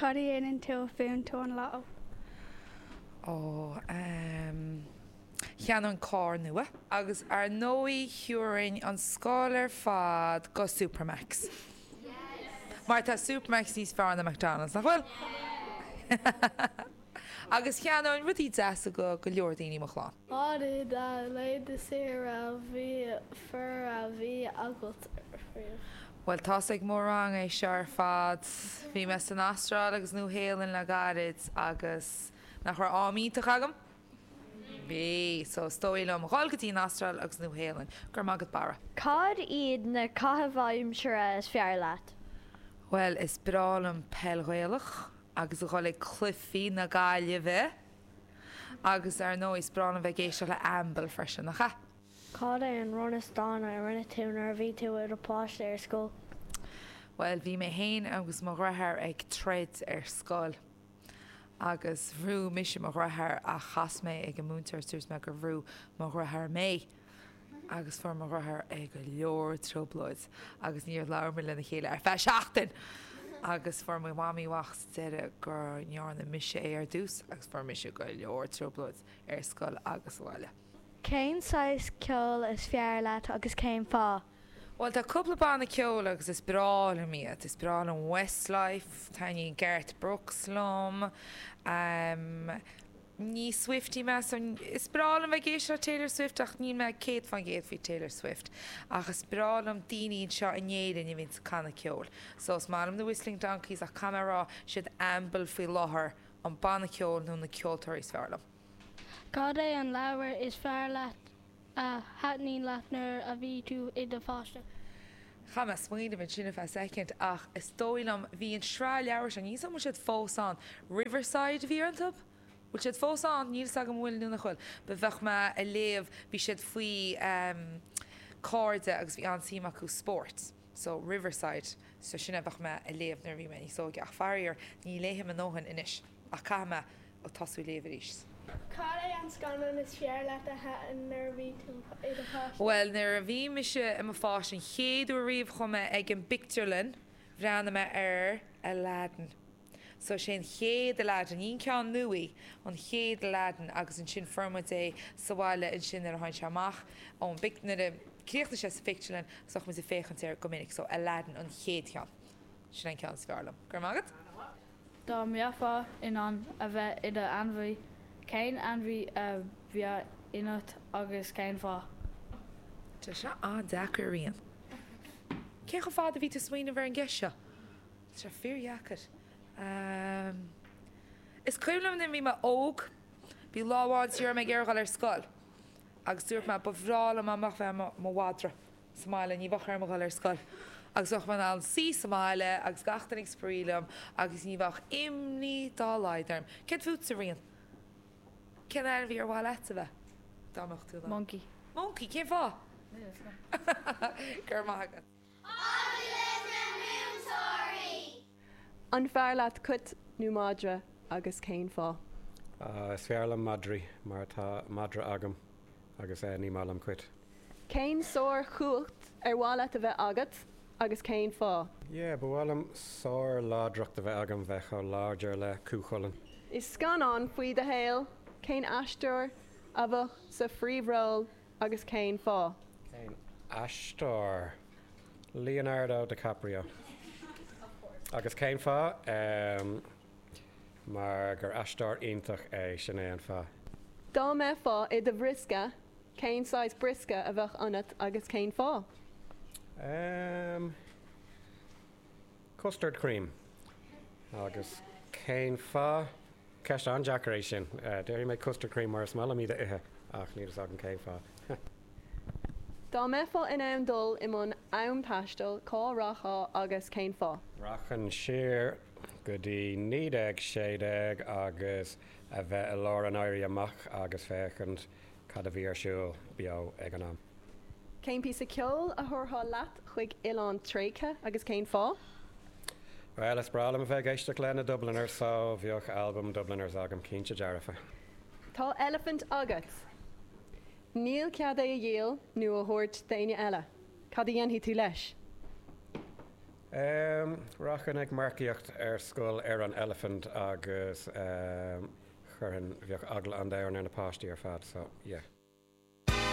Cad a dhéanann tú a bhuann tú an lotto? Ó, ehm, cheannóinn carr nua. Agus ar ndóigh thiúrfainn an scoil ar fad go Supermacs. Mar tá Supermacs níos fearr ná McDonald's, nach bhfuil? Agus cheannóinn rudaí deasa go go leor daoine i mo chlann. Cad é do laethanta saoire ab fhearr a bhí agat riamh? Bhuel, tá's ag mo rang é seo ar fad. Bhí mé san Astráil agus Nua Shéalainn le gairid agus nach raibh am iontach agam? Bhí! So is dóigh liom dhul go dtí an Astráil agus Nua Shéalainn. Go raibh maith agat Barra. Cad iad na caithimh aimsire is fearr leat? Bhuel, is breá liom peil Ghaelach agus a dhul ag cluichí na Gaillimhe agus ar ndóigh is breá liom bheith ag éisteacht le Amble freisin, nach ea? Cad é an rud is dána a rinne tú nuair a bhí tú i do pháiste ar scoil? Bhuel, bhí mé féin agus mo dheartháir ag troid ar scoil agus bhrú mise mo dheartháir ach chas mé ag an múinteoir is dúirt mé gur bhrú mo dheartháir mé agus fuair mo dheartháir i go leor trioblóid agus níor labhair muid lena chéile ar feadh seachtain! Agus fuair mo mhamaí amach sa deireadh go ndearna mise é ar dtús agus fuair mise go leor trioblóid ar scoil agus sa bhaile. Cén saghas ceoil is fearr leat agus cén fáth? Bhuel, tá cúpla banna ceoil agus is breá liom iad. Is breá liom Westlife, taitníonn Garth Brooks liom, ní Swiftie mé so is breá liom bheith ag éisteacht le Taylor Swift ach níl mé 100% faoi Taylor Swift. Ach is breá liom daoine anseo in Éirinn a bhíonns ag canadh ceoil. So is maith liom na Whistling Donkeys ach caithfidh mé a rá, siad Amble faoi láthair an banna ceoil nó na ceoltóirí is fearr liom. Cad é an leabhar is fearr leat a thaitníonn leat nuair a bhí tú i do pháiste? Chaith mé smaoineamh ansin ar feadh soicind ach is dóigh liom, bhí an sraith leabhar seo, níl 's agam an bhfuil siad fós ann, Riverside a bhí iontu? Bhfuil siad fós ann? Níl 's agam an bhfuil nó nach bhfuil. But bheadh mé a léamh, bhí siad faoi cairde agus bhí an-suim acu spórt. So Riverside, so sin a bheadh mé a léamh nuair a bhí mé níos óige ach faraor ní léifidh mé a ndóthain anois ach caithfidh mé tosú léamh arís. Cad é an scannán is fearr leat a thaitin nuair a bhí tú i do pháiste? Bhuel, nuair a bhí mise i mo pháiste, an chéad uair riamh chuaigh mé ag an bpictiúrlann, bhreathnaigh mé ar Aladdin. So sé an chéad Aladdin, ní an ceann nua, an chéad Aladdin agus ansin fuair muid é sa bhaile ansin nuair a tháinig sé amach ón bpic, nuair a chríochnaigh sé sa phictiúrlann agus bheadh muid ag féachaint air go minic. So Aladdin, an chéad cheann. Sin an ceann is fearr liom. Go raibh maith agat. Dá mbeifeá in ann a bheith i d'ainmhí, cén ainmhí a bheadh ionat agus cén fáth? Tá seo an-deacair, a Rían. Cé chomh fada a bhí tú ag smaoineamh ar an gceist seo? Tá sé fíordheacair. Is cuimhin liom nuair a bhí mé óg, bhí lá amháin ní raibh mé ag iarraidh dul ar scoil agus dúirt mé ba bhreá liom dá mbeadh bheith i mo mhadra. sa mbaile, ní bheadh orm a dhul ar scoil agus bheadh mé in ann suí sa mbaile agus gach duine ag spraoi liom agus ní bheadh imní dá laghad orm. Céard fútsa, Rían? Cén ainmhí ar mhaith leat a bheith, dá mbeadh tú in ann? Moncaí. Moncaí? Cén fáth? Níl a fhios agam. Go raibh maith agat. Agallamh na Múinteoirí! An fearr leat cait nó madra agus cén fáth? Is fearr liom madraí mar tá madra agam agus ní maith liom cait. Cén sár-chumhacht ar mhaith leat a bheith agat agus cén fáth? Yeah, ba mhaith liom sár-láidreacht a bheith agam, bheith chomh láidir le Cú Chulainn. I scannán faoi do shaol, cén aisteoir a bheadh sa phríomhról agus cén fáth? Cén aisteoir? Leonardo DiCaprio. Agus cén fáth? Em, mar gur aisteoir iontach é, sin é an fáth. Dá mbeifeá i do bhriosca, Cén saghas briosca a bheadh ionat agus cén fáth? Em. Custard cream. Agus cén fáth? Ceist an-deacair é sin. Déarfaidh mé custard cream mar is maith liom iad a ithe ach níl fhios agam cén fáth. Dá mbeifeá in ann dul i mbun am-taistil, cá rachfá agus cén fáth? Rachainn siar go dtí 1916 agus a bheith i lár an Éirí Amach agus féachaint Cad a bhí ar siúl beo ag an am? Cén píosa ceoil a thabharfá leat chuig oileán tréigthe agus cén fáth? Bhuel, is breá liom a bheith ag éisteacht le na Dubliners so bheadh albam Dubliners agam, cinnte dearfa. Tá eilifint agat. Níl cead é a dhíol nó a thabhairt d'éinne eile. Cad a dhéanfaidh tú leis? Em, rachainn ag marcaíocht ar scoil ar an eilifint agus em, chuirfinn, bheadh eagla an domhain ar na páistí ar fad, so yeah.